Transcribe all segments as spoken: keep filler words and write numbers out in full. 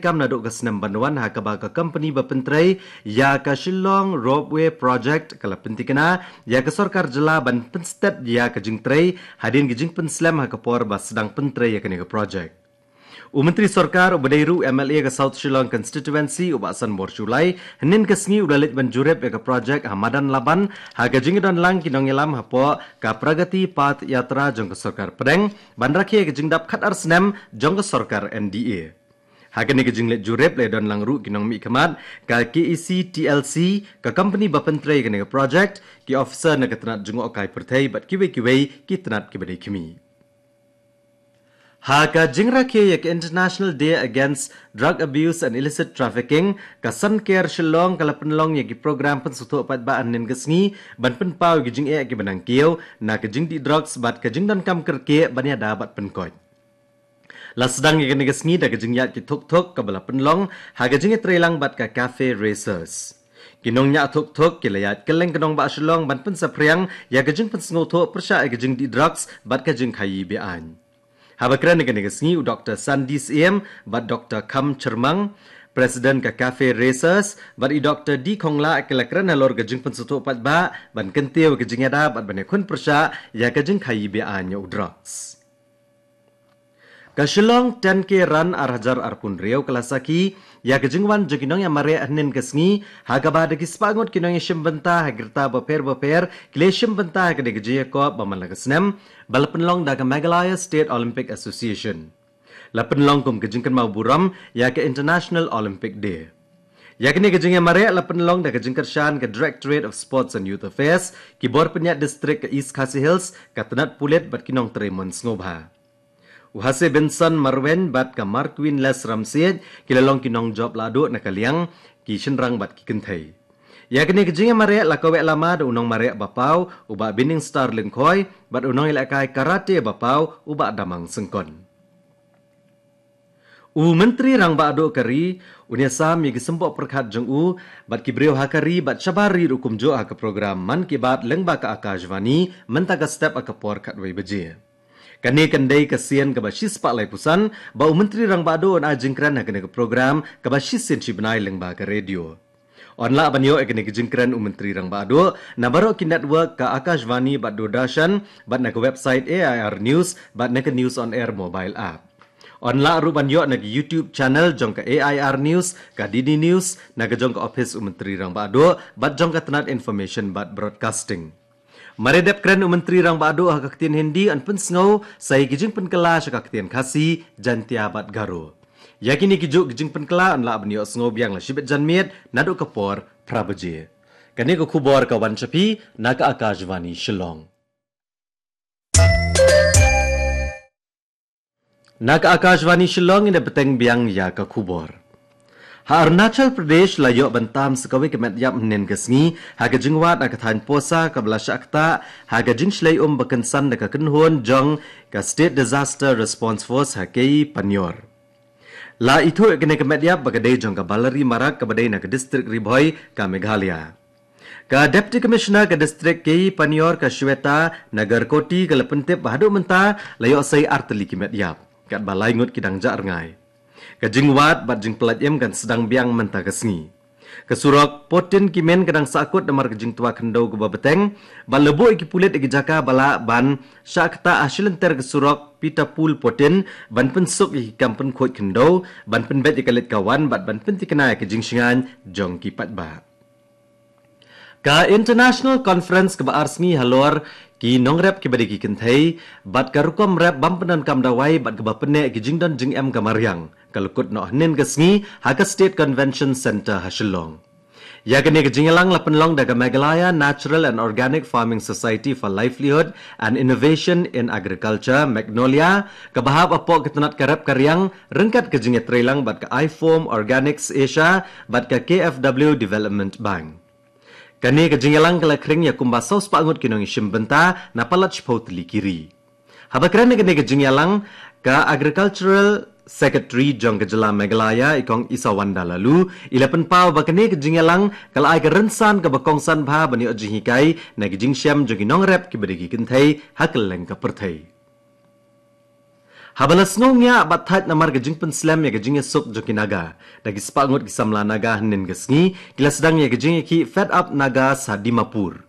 kam naduh ka snem ban wan ha kaba ka company ba pyntrei ïa ka Shillong Ropeway Project ka la pyntikna ïa ka sorkar jylla ban pynstet ïa ka jingtrei hadien ka jingpynslem ha ka por ba sdang pyntrei ïa kane ka project. U Myntri Sorkar uba dei ruh M L A ka South Shillong Constituency u Bah Sanbor Shullai hynnin ka sngi u la leit ban jurip ïa ka project ha madan Laban ha ka jingdon lang ki nongïalam hapoh ka Pragati Path Yatra jong ka sorkar pdeng ban rakhe ïa ka jingdap khatar snem jong ka sorkar N D A. Ha kane ka jingleit jurip la don lang ruh ki nongmihkhmat ka K E C T L C, ka company ba pyntrei kane ka project, ki officer na ka tnat jngohkai pyrthei bad kiwei kiwei ki tnat kiba dei khmih. Ha ka jingrakhe ïa ka International Day Against Drug Abuse and Illicit Trafficking, ka Sanker Shillong ka la pynlong ïa ki program pynsngewthuh paidbah hynnin ka sngi ban pynpaw ïa ki jingeh kiba nang kiew na ka jingdih drugs bad ka jingdonkam kyrkieh ban ïada bad pynkoit. La sdang ïa kane ka sngi da ka jingïaid ki thukthuk kaba la pynlong ha ka jingïatreilang bad ka Cafe Racers. Ki nongñiah thukthuk ki la ïaid kylleng ka nongbah Shillong ban pynsaphriang ïa ka jingpynsngewthuh pyrshah ïa ka jingdih drugs bad ka jingkhaïi be-aiñ. Haba kren ha kane ka sngi u Doktor Sandy Syiem bad Doktor Kham Chyrmang, President ka Cafe Racers, bad i Doktor D Khonglah ki la kren halor ka jingpynsngewthuh paidbah ban kyntiew ïa ka jingïada bad ban ïakhun pyrshah ïa ka jingkhaïi be-aiñ ïa u drugs. Ka Shillong ten K Run ar hajar arphew hynriew ka la sakhi ïa ka jingwan jong ki nongïamareh hynnin ka sngi ha kaba da ki spah ngut ki nongïashim bynta ha ki rta bapher bapher ki la shim bynta ha kane ka jingïakop ba man la ka snem ba la pynlong da ka Meghalaya State Olympic Association. La pynlong kum ka jingkynmaw burom ïa ka International Olympic Day. Ïa kane ka jingïamareh la pynlong da ka jingkyrshan ka Directorate of Sports and Youth Affairs, ki bor pynïaid district ka East Khasi Hills, ka tnat pulit bad ki nongtrei mon sngewbha. U Hase Benson Marwein bad ka Marqueen Les Ramsiej ki la long ki nongjop lahduh na ka liang ki shynrang bad ki kynthei. Ïa kane ka jingïamareh la kaweh lama da u nongmareh ba paw u Bah Binningstar Lyngkhoi bad u nongïalehkai karate ba paw u Bah Damang Syngkon. U Myntri Rangbah Duh ka ri un ïasam ïa ki symboh pyrkhat jong u bad ki briew ha ka ri bad shabar ri ruh kumjuh ha ka program Mann Ki Baat lyngba ka Akashvani mynta ka step ha ka por khatwei baje. Kane kan dei ka sien kaba shispah laiphew san ba u Myntri Rangbah Duh un ai jingkren ha kane ka program kaba shisien shi bnai lyngba ka radio. Yn lah ban ïoh ïa kane ka jingkren u Myntri Rangbah Duh na baroh ki network ka Akashvani bad Doordarshan bad na ka website A I R News bad na ka News on Air mobile app. Yn lah ruh ban ïoh na ka YouTube channel jong ka A I R News, ka D D News, na ka jong ka ophis u Myntri Rangbah Duh bad jong ka tnat Information bad Broadcasting. Mar ïa dep kren u Myntri Rangbah Duh ha ka ktien Hindi yn pynsngew sa ïa ki jingpynkylla sha ka ktien Khasi, Jaintia bad Garo. Ïa kine ki juh ki jingpynkylla yn lah ban ïohsngew biang la shibit janmiet naduh ka por phra baje. Kane ka khubor ka wan sha phi na ka Akashvani Shillong. Na ka Akashvani Shillong, ngin ïa bteng biang ïa ka khubor. Ha Arunachal Pradesh la ïoh ban tam sa kawei ka met ïap hynnin ka sngi ha ka jingwad ha ka thaiñ Pusa kaba la shah ktah ha ka jingshlei um ba kynsan da ka kynhun jong ka State Disaster Response Force ha Keyi Panyor. La ithuh ïa kane ka met ïap ba ka dei jong ka Balari Marak kaba dei na ka district Ri Bhoi ka Meghalaya. Ka Deputy Commissioner ka district Keyi Panyor ka Shweta Nagarkoti ka la pyntip ba haduh mynta la ïoh sei ar tylli ki met ïap, katba lai ngut ki dang jah rngai. Ka jingwad bad jingpyllait im kan sdang biang mynta ka sngi. Ka surok Putin Kimin ka dang sahkut namar ka jingtwa khyndew kaba bteng bad la buh ïa ki pulit ïa ki jaka ba lah ban shah ktah ha shilynter ka surok Pitapul Putin ban pynsuk ïa ki kam pynkhuid khyndew ban pynbeit ïa ka leit ka wan bad ban pyntikna ïa ka jingshngaiñ jong ki paidbah. Ka International Conference kaba ar sngi halor ki nongrep kiba dei ki kynthei bad ka rukom rep bym pyndonkam dawai bad kaba pynneh ki jingdon jingem ka mariang ka la kut noh hynnin ka sngi ha ka State Convention Centre ha Shillong. Ïa kane ka jingïalang la pynlong da ka Meghalaya Natural and Organic Farming Society for Livelihood and Innovation in Agriculture, Magnolia, kaba hap hapoh ka tnat ka rep ka riang ryngkat ka jingïatreilang bad ka iForm Organics Asia bad ka K F W Development Bank. Kane ka jingïalang ka la khring ïa kumba saw spah ngut ki nongïashim bynta na palat shiphew tylli ki ri. Haba kren ha kane ka jingïalang, ka Agricultural Secretary jong ka jylla Meghalaya, i Kong Isawanda Laloo, i la pynpaw ba kane ka jingïalang ka la ai ka rynsan kaba kongsan bha ban ïoh jinghikai na ka jingshem jong ki nongrep kiba dei ki kynthei ha kylleng ka pyrthei. Haba la sngew ngiah bad thait namar ka jingpynslem ïa ka jingïasuk jong ki Naga, da ki spah ngut ki samla Naga hynnin ka sngi ki la sdang ïa ka jingïakhih Fed Up Nagas ha Dimapur.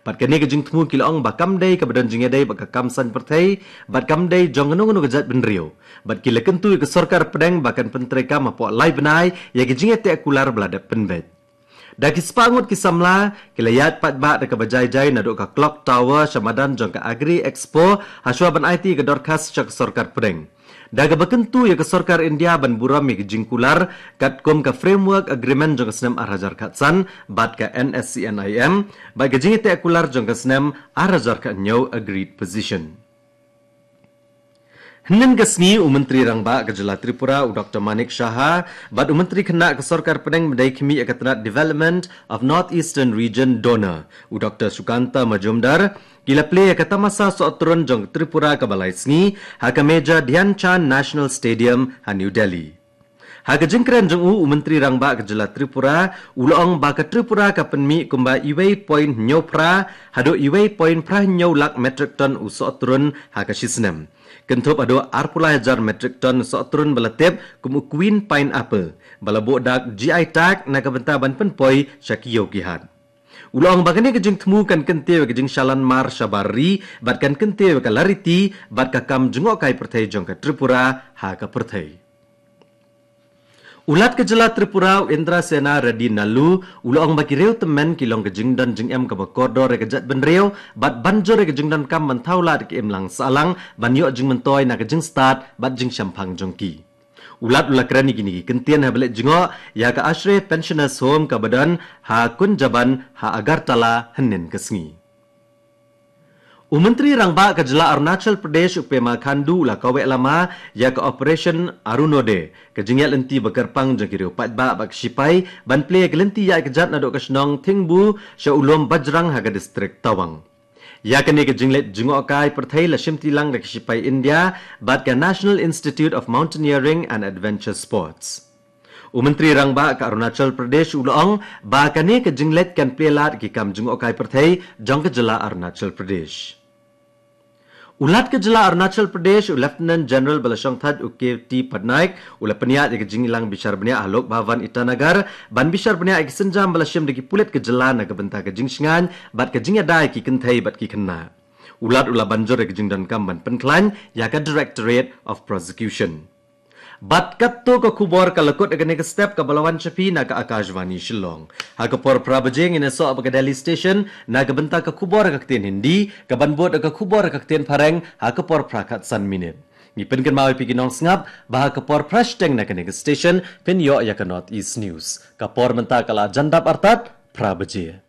Bad kane ka jingthmu ki la ong ba kam dei kaba don jingïadei bad ka kam saiñ pyrthei, bad kam dei jong kano kano ka jaitbynriew. Bad ki la kyntu ïa ka sorkar pdeng ba kan pyntreikam hapoh lai bnai ïa ka jingïateh kular ba la dep pynbeit. Da ki spah ngut ki samla ki la ïaid paidbah da kaba jai jai naduh ka Clock Tower sha madan jong ka Agri Expo, hashwa ban aiti ïa ka dorkhas sha ka sorkar pdeng. Da kaba kyntu ïa ka sorkar India ban burom ïa ka jingkular katkum ka Framework Agreement jong ka snem ar hajar khatsan bad ka NSCN-IM, bad ka jingïateh kular jong ka snem ar hajar khathynñiew Agreed Position. Hynnin ka sngi u Myntri Rangbah ka jylla Tripura u Doktor Manik Saha bad u Myntri Khynnah ka sorkar pdeng ba dei khmih ïa ka tnat Development of North Eastern Region, DoNER, u Doktor Sukanta Majumdar, ki la plie ïa ka tamasa sohtrun jong Tripura kaba lai sngi ha ka Major Dhyan Chand National Stadium ha New Delhi. Ha ka jingkren jong u, u Myntri Rangbah ka jylla Tripura u la ong ba ka Tripura ka pynmih kumba uwei point hynñiew phra haduh uwei point phra hynñiew lak metric ton u sohtrun ha ka shi snem, kynthup haduh arphew lai hajar metric ton sohtrun ba la tip kum u Queen Pineapple ba la buh dak GI tag na ka bynta ban pynpoi sha ki ïew ki hat. U la ong ba kane ka jingthmu kan kyntiew ïa ka jingshalan mar shabar ri bad kan kyntiew ïa ka lariti bad ka kam jngohkai pyrthei jong ka Tripura ha ka pyrthei. U Lat ka jylla Tripura u Indrasena Reddy Nallu u la ong ba ki riew tymmen ki long ka jingdon jingem kaba kordor ïa ka jaitbynriew bad ban jur ïa ka jingdonkam ban thaw lad ïa ka imlang sahlang ban ïoh jingmyntoi na ka jingstad bad jingshemphang jong ki. U Lat u la kren ïa kine ki kyntien haba leit jngoh ïa ka Ashray Pensioners Home kaba don ha Kunjaban ha Agartala hynnin ka sngi. U Myntri Rangbah ka jylla Arunachal Pradesh u Pema Khandu u la kaweh lama ïa ka Operation Arunoday, ka jingïaid lynti ba kyrpang jong ki riew paidbah bad ki shipai ban plie ïa ka lynti ïaid kjat naduh ka shnong Thingbu sha u lum Bajrang ha ka distrik Tawang. Ïa kane ka jingleit jngohkai pyrthei la shimti lang da ki shipai India bad ka National Institute of Mountaineering and Adventure Sports. U Myntri Rangbah ka Arunachal Pradesh u la ong ba kane ka jingleit kan plie lad ïa ki kam jngohkai pyrthei jong ka jylla Arunachal Pradesh. U Lat ka jylla Arunachal Pradesh u Lieutenant General ba la shongthait u K T Patnaik u la pynïaid ïa ka jingïalang bishar bniah ha Lok Bhavan Itanagar ban bishar bniah ïa ki sienjam ba la shim da ki pulit ka jylla na ka bynta ka jingshngaiñ bad ka jingïada ïa ki kynthei bad ki khynnah. U Lat u la ban jur ïa ka jingdonkam ban pynkhlaiñ ïa ka Directorate of Prosecution. Bad katto ka khubor ka la kut ïa kane ka step kaba la wan sha phi na ka Akashvani Shillong. Ha ka por phra baje ngin ïasoh bad ka Delhi Station na ka bynta ka khubor ha ka ktien Hindi, kaban bud ïa ka khubor ha ka ktien Phareng ha ka por phra khatsan minit. Ngi pynkynmaw ïa phi ki nongsngap ba ha ka por phra shiteng na kane ka station phin ïoh ïa ka North East News. Ka por mynta ka la jan dap artat phra baje.